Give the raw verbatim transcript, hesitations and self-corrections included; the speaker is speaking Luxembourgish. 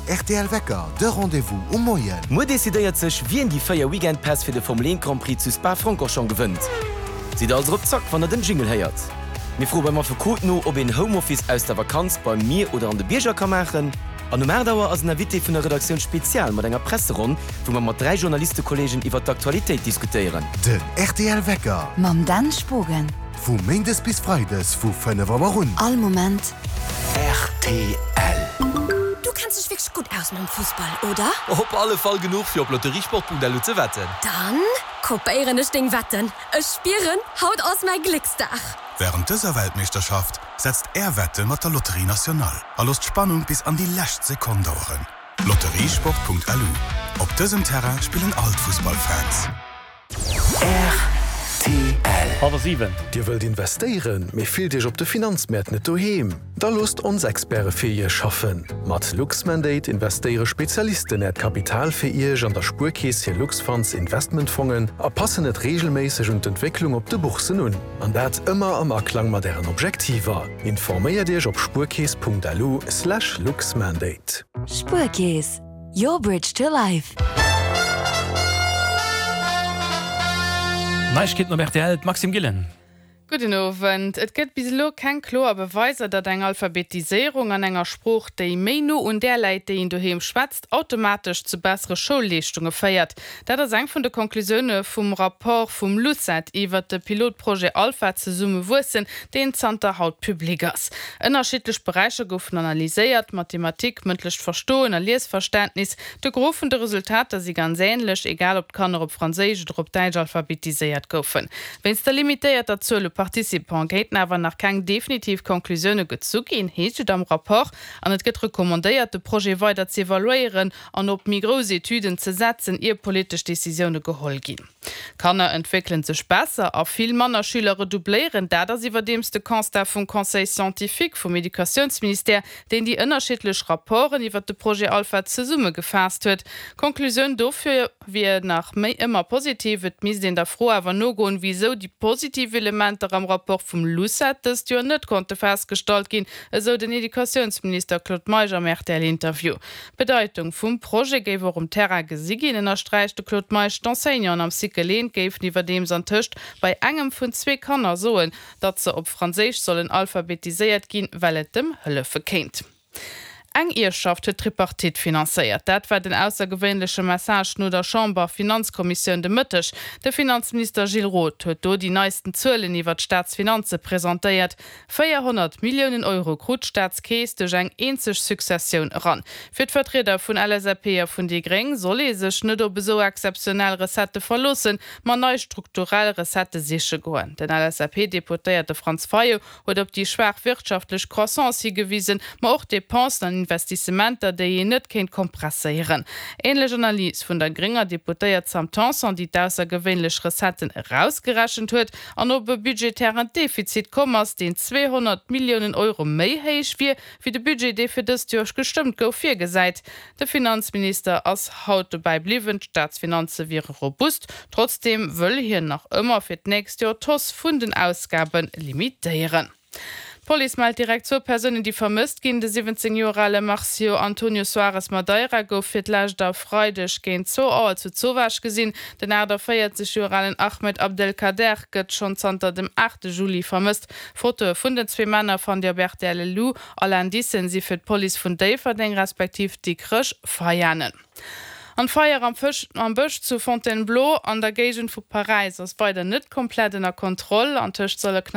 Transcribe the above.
R T L Wecker, de Rendez-vous um Moien. Muer decidéiert sech, wien déi véier Weekend-Päss fir de Formel een Grand Prix zu Spa-Francorchamps gewënnt. Sidd also op Zack, wann der den Jingle héiert. Mir froe beim Affekot no, ob een Homeoffice aus der Vakanz beim Mier oder an de Bierger ka maachen. An um aacht Auer ass en Invité vun der Redaktioun Spezial mat enger Presseronn, wou mer mat dräi Journalistekolleegen iwwer d'Aktualitéit diskutéieren. Den R T L Wecker. Mam Dan Spogen. Vu Méindes bis Freides vu fënnef Auer un. All Moment. R T L. Du kenns dech wierklech gutt aus mam Fussball, oder? Op alle Fall genuch fir op lotteriesport Punkt L U ze wetten. Dann kopéieren ech deng Wetten. Ech spieren, haut ass mäi Glécksdag. Wärend dëser Weltmeeschterschaft setzt är Wette mat der Loterie Nationale a loosst d'Spannung bis an déi lescht Sekonn daueren. Lotteriesport Punkt L U. Op dësem Terrain spillen all d'Fussballfans. R T L. Hallwer siwen. Dir wëllt investéieren, mee fillt iech op de Finanzmäert net doheem? Da loosst ons Experte fir iech schaffen. Mat Luxmandate investéiere Spezialisten äert Kapital fir iech an der Spuerkeess hir Luxfonds Investmentfongen a passen et reegelméisseg un d'Entwécklung op de Boursen un. An dat ëmmer am Aklang mat ären Objektiver. Informéiert iech op spuerkeess Punkt L U slash luxmandate. Spuerkeess. Your bridge to life. Neiegkeeten op R T L, d'Maxime Gillen. Gudden Owend. Et gëtt bis elo keng kloer Beweiser, datt eng Alphabetiséierung an enger Sprooch, déi méi no un där läit, déi een doheem schwätzt, automatesch zu bessere Schoulleeschtunge féiert. Dat ass eng vun de Konklusioune vum Rapport vum LUCET iwwer de Pilotprojet Alpha zesumme wuessen, deen zanter haut public ass. Ënnerschiddlech Beräicher goufen analyséiert, Mathematik, mëndlecht Verstoen a Liesverständnis. De Gros vun de Resultater si ganz änlech, egal ob d'Kanner op Franséisch oder op Däitsch alphabetiséiert goufen. Wéinst der limitéierter Zuel u Participante kéinten awer nach keng definitiv Konklusioune gezu ginn, heescht et am Rapport, an et gëtt recommandéiert, de Projet weider ze evaluéieren an op méi grouss Etüden ze setzen, ier politesch Decisioune geholl ginn. Kanner entwéckele sech besser a vill manner Schüler redoubléieren, dat ass iwwerdeems de Constat vum Conseil scientifique vum Educatiounsministère, deen déi ënnerschiddlech Rapporten iwwer de Projet Alpha zesummegefaasst huet. D'Konklusioun dofir wier nach méi ëmmer positiv, et misst een der Fro awer nogoen, wisou déi positiv Elementer am Rapport vum LUCET dëst Joer net konnte festgestallt ginn, esou den Educatiounsminister Claude Meisch am R T L-Interview. D'Bedeitung vum Projet géif och um Terrain gesi ginn, ënnersträicht de Claude Meisch. D'Enseignanten am Cycle eent géifen iwwerdeems antëscht bei engem vun zwee Kanner soen, datt se op Franséisch sollen alphabetiséiert ginn, well et dem hëllefe kéint. Eng Ierfschaft huet d'Tripartite finanzéiert. Dat war den aussergewéinleche Message no der Chamber-Finanzkommissioun de Mëtteg. De Finanzminister Gilles Roth huet do déi neisten Zuelen iwwer d'Staatsfinanze presentéiert. véierhonnert Milliounen Euro krut d'Staatskeess duerch eng eenzeg Successioun eran. Fir d'Vertrieder vun L S A P a vun déi Gréng soll ee sech net op esou exzeptionell Recettë verloossen, ma nei strukturell Recettë siche goen. Den L S A P-Deputéierte Franz Fayot huet op déi schwaach wirtschaftlech Croissance higewisen, ma och Depensen an Investissementer, déi een net kéint kompresséieren. Änlech Analys vun der grénger Deputéiert Sam Tanson, déi d'aussergewéinlech Recetten erausgerechent huet an op e budgetären Defizit komm ass, deen zweehonnert Milliounen Euro méi héich wier, wéi de Budget, dee fir dëst Joer gestëmmt gouf, virgesäit. De Finanzminister ass haut dobäi bliwwen, d'Staatsfinanze wiere robust. Trotzdeem wëll hien nach ëmmer fir d'nächst Joer d'Hausse vun den Ausgabe limitéieren. D'Police mellt direkt zwou Persounen, déi vermësst ginn. De siwwenzéng Joer ale Marcio Antonio Soares Madeira gouf fir d'lescht e Freideg géint zwou Auer zu Zowaasch gesinn. Den aachtavéierzeg Joer alen Ahmed Abdelkader gëtt schonn zanter dem aachte Juli vermësst. Fotoe vun den zwee Männer fannt Dir op R T L L U. All Indicen si fir d'Police vun Déifferdeng respektiv Dikrech Veianen. An d'Feier am Fësch am Bësch zu Fontainebleau an der Géigend vu Paräis ass weider net komplett ënner Kontroll. Antëscht solle